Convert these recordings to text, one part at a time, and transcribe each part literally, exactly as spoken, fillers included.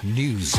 News.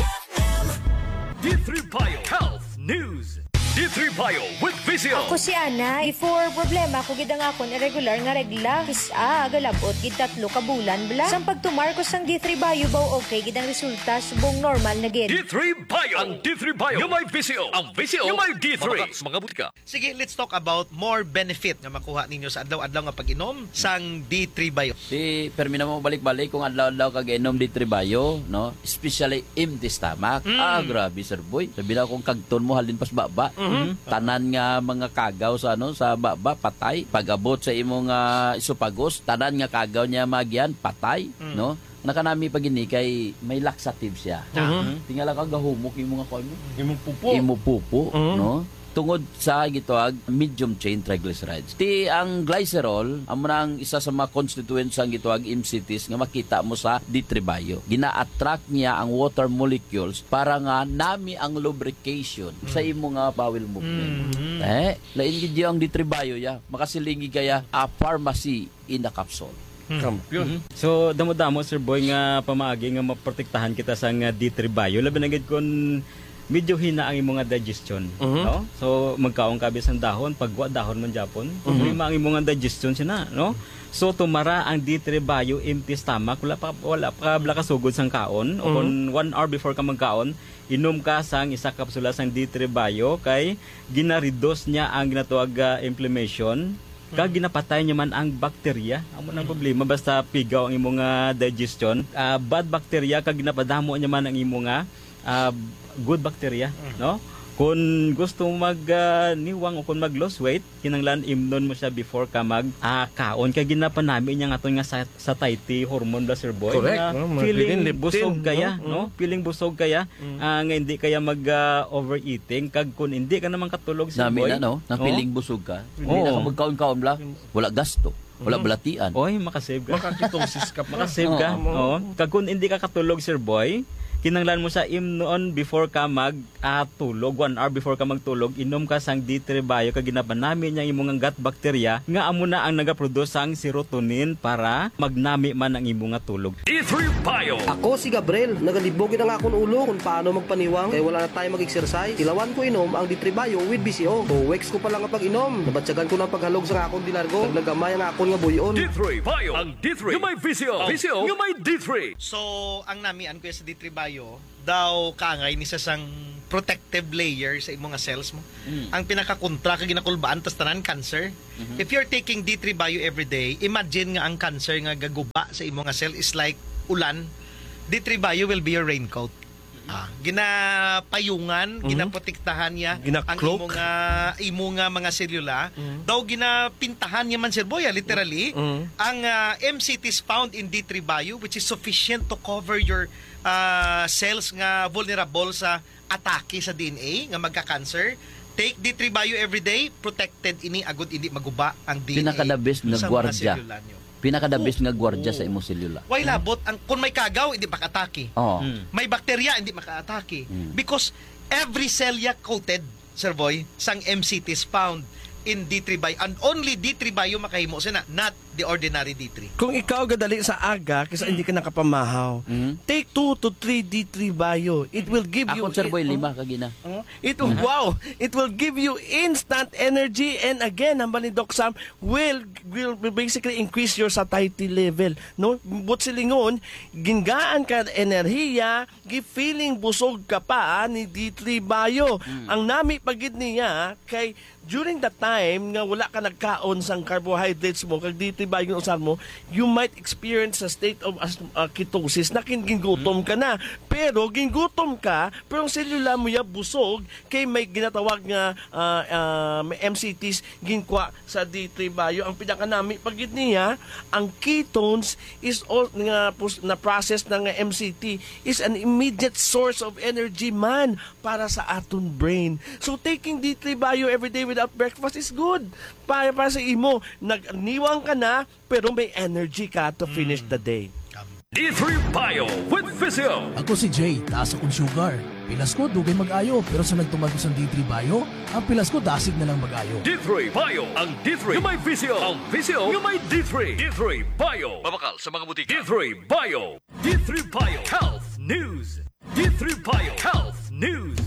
D three Bio Health News. D three Bio with Visio. Ako si Ana. Before, problema ko gid ang akon irregular nga regla. Kis-a, galabot gid tatlo ka bulan bala. Sang pagtumar ko sang D three Bio, baw okay gid ang resulta, subong normal na gid. D three Bio. Ang D three Bio nga may Visio. Ang Visio nga may D three. Mabakal sa mga butika. Sige, let's talk about more benefit nga makuha ninyo sa adlaw-adlaw nga pag-inom sang D three Bio. Si permi na mo balik-balik kung adlaw-adlaw kag inom D three Bio, no? Especially empty stomach. Mm. Ah, grabe, sir boy. Sabi na kung kagton mo halin pas baba. Mhm. Tanan nga mga kagaw sa, ano, sa baba, patay. Pag-abot sa imong, ah, esophagus, tanan nga kagaw niya magian, patay, Mm. no? Nakanami pa gini kay may laxative siya. Mhm. Tingala ka, gahumok imong, kuwan mo. Imong pupo. Imo pupo, Mhm. no? Tungod sa gitawag medium chain triglycerides. Ti ang glycerol, amo na ang isa sa mga constituents sang gitawag M C Ts nga makita mo sa D three Bio. Gina-attract niya ang water molecules para nga nami ang lubrication sa Mm. imo nga bowel movement. Mm. Eh, lain gid ang D three Bio, ya. Makasilingi kaya a pharmacy in a capsule. Hmm. Kampiyon. Mhm. So, damo-damo, Sir Boy, nga pamaagi nga maprotektahan kita sa nga D three Bio. Labi na gid kun medyo hina ang imo nga digestion, Mhm. no? So, magkaon ka bisan dahon, pag wa dahon man gyapon, Mhm. problema ang imo nga digestion sina, no? So, tumara ang D three Bio, empty stomach, wala pa, wala pa bala kasugod sang kaon, o Mhm. kung one hour before ka magkaon, inom ka sang isa kapsula sang D three Bio, kay gina-reduce niya ang ginatawag, ah, inflammation, kag Mhm. ginapatay niya man ang bakterya. Amo nang Mhm. problema, basta pigaw ang imo nga digestion, ah, bad bacteria, kag ginapadamo niya man ang imo nga, ah, good bacteria, Mhm. no? Kung gusto mo mag, ah, niwang o kung mag-lose weight, kinahanglan imnon mo siya before ka mag, ah, kaon. Kay ginapanami niya nga aton nga sa-, satiety hormone bala, Sir Boy, Correct, nga no? Mga feeling leptin, busog kaya, no? no? Mm. Feeling busog kaya, Mm. ah, nga hindi kaya mag, ah, overeating. Kag kung hindi ka naman katulog, Sir Nami Boy, na, no? Na no? feeling busog ka. Hindi Oo. na ka magkaon-kaon bala. Wala gasto. Wala Mhm. balatian. Oy, makasave ka. Makaketosis ka pa. Makasave ka. Oo. Oo. Kag kung hindi ka katulog, Sir Boy, kinahanglan mo sa imnon before ka mag, ah, tulog, one hour before ka magtulog, inom ka sang D three Bio kag ginapanami niya ang imo nga gut bacteria nga amo na ang nagaproduce sang serotonin para magnami man ang imo nga tulog. D three Bio. Ako si Gabriel, nagalibog gid ang akon ulo kung paano magpaniwang kay wala na tayo mag-exercise. Tilawan ko inom ang D three Bio with B C O. Two weeks ko pa lang nga pag-inom, nabatyagan ko na ang paghalog sa akon di largo. Naglagamay ang akon nga buy-on. D three Bio. Ang D three nga may V C O. V C O nga may D three. So, ang namian ko sa D three Bio, daw kaangay ni sa sang protective layer sa imo nga cells mo. Mm. Ang pinakakontra ka ginakulbaan, tas tanan cancer. Mhm. If you're taking D three Bio every day, imagine nga ang cancer nga gaguba sa imo nga cell is like ulan. D three Bio will be your raincoat. Ah, ginapayungan, Mhm. ginaprotektahan niya ang Gina-cloak. imo nga, imo nga mga selula. Mhm. Daw ginapintahan niya man, Sir Boy, ah, literally. Mhm. Ang, ah, M C Ts found in D three Bio, which is sufficient to cover your, ah, cells nga vulnerable sa atake sa D N A nga magka-cancer. Take D three Bio every day, protected ini agud hindi maguba ang D N A Pinaka the best nga sa mga gwardiya. selula nyo. Pinaka the best Oo. nga gwardiya sa Oo. imong selula. Way labot ang, kung may kagaw, hindi makatake. Oo. Hmm. May bakterya, hindi makatake. Hmm. Because every cell ya coated, Sir Boy, sang M C T is found in D three Bio. And only D three Bio makahimo sina, not the ordinary D three. Kung ikaw gadali sa aga, kisa Hmm. hindi ka nakapamahaw, Hmm. take two to three D three Bio. It will give you Ako, Sir Boy, oh. lima ka gina. Oh, it will, Hmm. wow! It will give you instant energy. And again, hambal ni Doc Sam, will, will, will basically increase your satiety level. No? But silingon, gingaan ka enerhiya, gi-feeling busog ka pa, ah, ni D three Bio. Hmm. Ang nami pa gid niya, kay during the time nga wala ka nagkaon sang carbohydrates mo, kag D three Bio ang usar mo, you might experience a state of as-, uh, ketosis na kin-, gingutom Hmm. ka na. Pero gingutom ka, pero ang selula mo ya busog, kay may ginatawag nga, ah, ah, may M C Ts ginkwa sa D three Bio. Ang pinakanami pa gid niya, ang ketones is all, nga pos-, na process na nga M C T is an immediate source of energy man para sa aton brain. So, taking D three Bio every day without breakfast is good. Para, para sa imo, nagniwang ka na, pero may energy ka to finish Mm. the day. D three Bio with Visio. Ako si Jay, taas akong sugar. Pilas ko, dugay mag-ayo, pero sa nagtumar ko sa D three Bio, ang pilas ko dasig na lang mag-ayo. D three Bio, ang D three nga may Visio, ang Visio nga may D three. D three Bio. Mabakal sa mga butika. D three Bio. D three Bio Health News. Trip Bio Health News.